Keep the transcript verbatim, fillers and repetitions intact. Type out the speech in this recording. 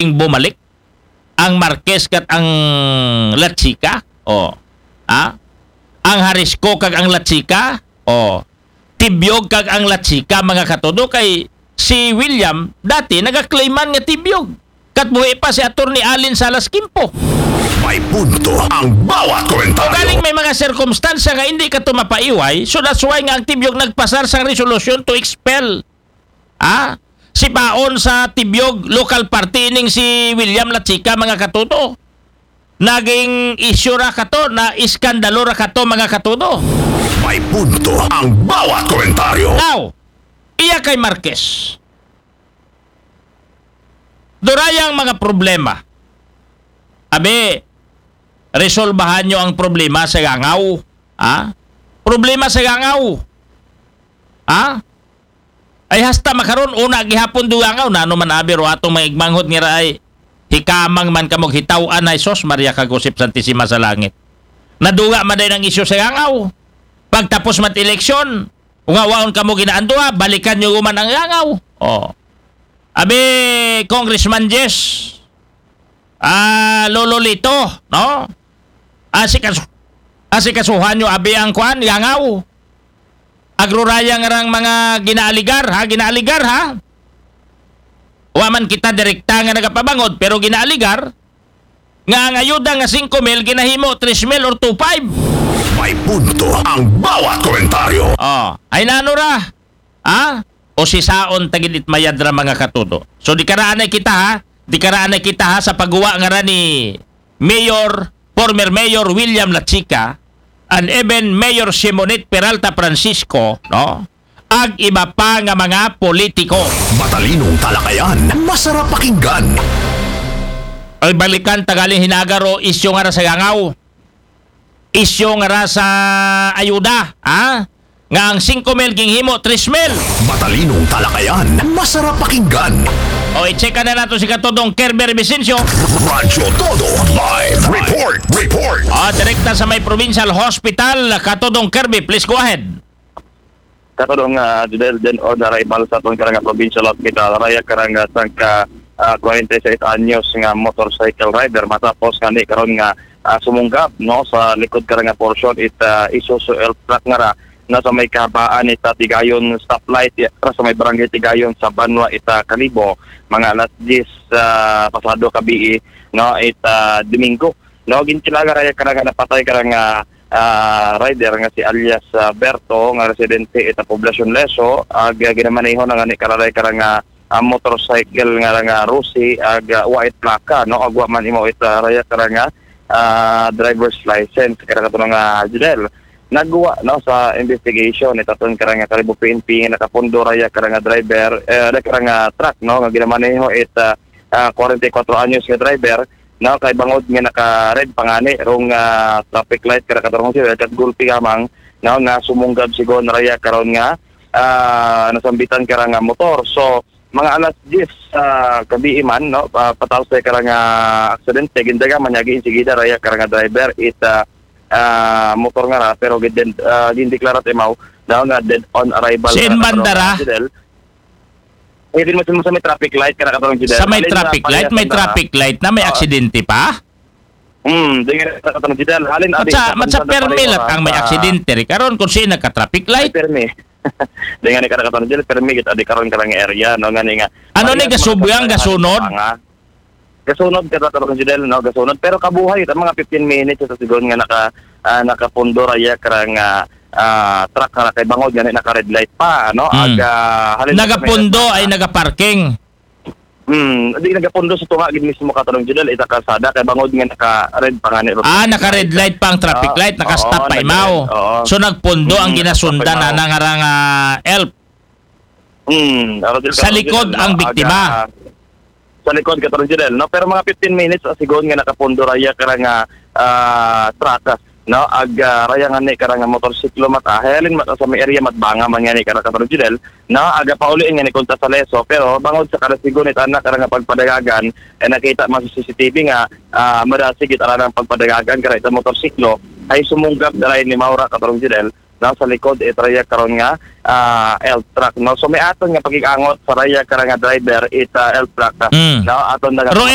bumalik ang Marquez kat ang La Chica. Oh. Ha? Ang Jalisco kag ang La Chica. Oh. Tibiog kag ang La Chica, mga katudo, kay si William dati nagaklaiman nga Tibiog. Kat buhi pa si Attorney Allen Salas Quimpo. May punto ang bawat komentaryo. Galing may mga sirkumstansya nga hindi ka to mapaiway, so that's why nga ang Tibiog nagpasar sang resolusyon to expel. Ah? Si Paon sa Tibiog local party ning si William La Chica, mga katudo. Naging isyu ra kato, na iskandalo ra kato, mga katudo. May punto ang bawat komentaryo. Now, iya kay Marquez. Durayang mga problema. Abi, resolbahan nyo ang problema sa Gangaw. Ha? Problema sa Gangaw. Ha? Ay hasta makaron, una gihapon do Gangaw, nano man abi ro atong mga igmanghod nga raay, hikamang man kamog hitaw-an ay sos, Maria Kagusip Santisima sa Langit. Naduga man din ang isyu sa Gangaw. Pagtapos mat eleksyon, kung waon kamo ginaanduha, balikan nyo man ang Gangaw. Oh. Abi, Congressman Jess, ah, Lolo Lito, no? Asikaso, asikasuhan nyo abi ang kuan, Gangaw. Agruraya nga rang mga ginaaligar, ha? Ginaaligar, ha? Wa man kita direkta nga nagapabangod, pero ginaaligar nga ang ayuda nga singko mil ginahimo tres mil or two five. May punto ang bawat komentaryo. Oh, ay nano ra? Ha? O si saon tagid it mayad ra, mga katudo. So di karaanay kita ha, di karaanay kita ha sa pagguwa nga ra ni Mayor, former Mayor William Lachica and even Mayor Simonette Peralta Francisco, no? Ag iba pa nga mga politiko. Matalinong talakayan, masarap pakinggan. Ay balikan tagaling hinagar o isyu nga ra sa Gangaw. Isyu nga ra sa ayuda, ha? Nga ang singko mil ginhimo tres mil. Matalinong talakayan, masarap pakinggan. O, i-check na nato si Katodong Kerber Vicencio. Radyo Todo Live Report. Report. Ah, direkta sa may provincial hospital, Katodong Kirby, please go ahead. Katodong uh, Judel, then on arrival sa atong karang provincial hospital, raya karang uh, sangka uh, forty-six anyos nga motorcycle rider matapos nga ni karon nga uh, sumunggab no sa likod karang portion it uh, Isuzu Elf truck nga ra na sa may kahabaan it uh, Tigayon stoplight ra sa may barangay Tigayon sa Banwa it uh, Kalibo mga alas diyes uh, pasado kabii no it uh, Domingo no ginkilaga raya karang napatay karang uh, ah, rider nga si alias ah, Berto nga residente ita Poblacion Leso ag ah, ginamaneho na nga ni kararay karang ah, ah, motorcycle nga nga Rusi ag ah, wa it plaka no ag wa man imo ita raya karang ah, driver's license kara kato nga Judel nagwa no sa investigation itaton karang Kalibo P N P nga nakapundo raya karang driver eh, karang truck no nga ginamaneho it ah, ah, forty-four anyos nga driver no kay bangod nga naka red pangani rong ah, traffic light kara katarong sila kat gulpi gamang no nga sumunggab sigon raya karon nga ah, nasambitan kara nga motor so mga alas diyes sa gabi man no pa, patapos sa kara nga aksidente gindaga man yagi insigida raya kara nga driver it ah, ah, motor nga ra pero gid uh, gindeklara imaw daw nga dead on arrival Sin bandara? Eh, di mo sa may traffic light kara katarong Judel. Sa may traffic light, may traffic light na may aksidente pa? Hmm, di nga sa katong Judel. Halin adi. Matsa matsa permi lat ang may aksidente ri karon kung sino nagka traffic light. Permi. Di nga ni kara katong Judel, permi kita di karon karang area no nga ni nga. Ano ni gasubyang gasunod? Gasunod ka katong Judel no, gasunod pero kabuhay ta mga fifteen minutes sa sigon nga naka uh, nakapundo raya karang uh, uh, truck nga kay bangod nga naka red light pa no. Hmm. Aga halin nagapundo ay nagaparking. Hmm, di nagapundo sa tunga gid mismo katarong Judel ita kalsada kay bangod nga naka red pa nga ni. Ah, naka red light pa ang traffic light, naka stop pa imaw. So nagpundo ang ginasundan na nangarang uh, elf. Hmm, sa likod ang biktima. Sa likod katarong Judel, no? Pero mga fifteen minutes sigon nga nakapundo raya karang uh, truck no ag uh, raya nga ni karang motorsiklo mata hayalin mata sa may area matbanga man nga ni karang katarong Judel no aga pauli nga ni kunta sa leso pero bangod sa karasigon it anak karang pagpadagagan eh, nakita man sa C C T V nga uh, madasig it aranang pagpadagagan kara ita motorsiklo ay sumunggab daray ni Maura katarong Judel no, sa likod it raya karon nga ah, elf truck, no? So may aton nga pakig-angot sa raya karon nga driver it ah, elf truck, ah, Mm. no? Aton na nga Pero elf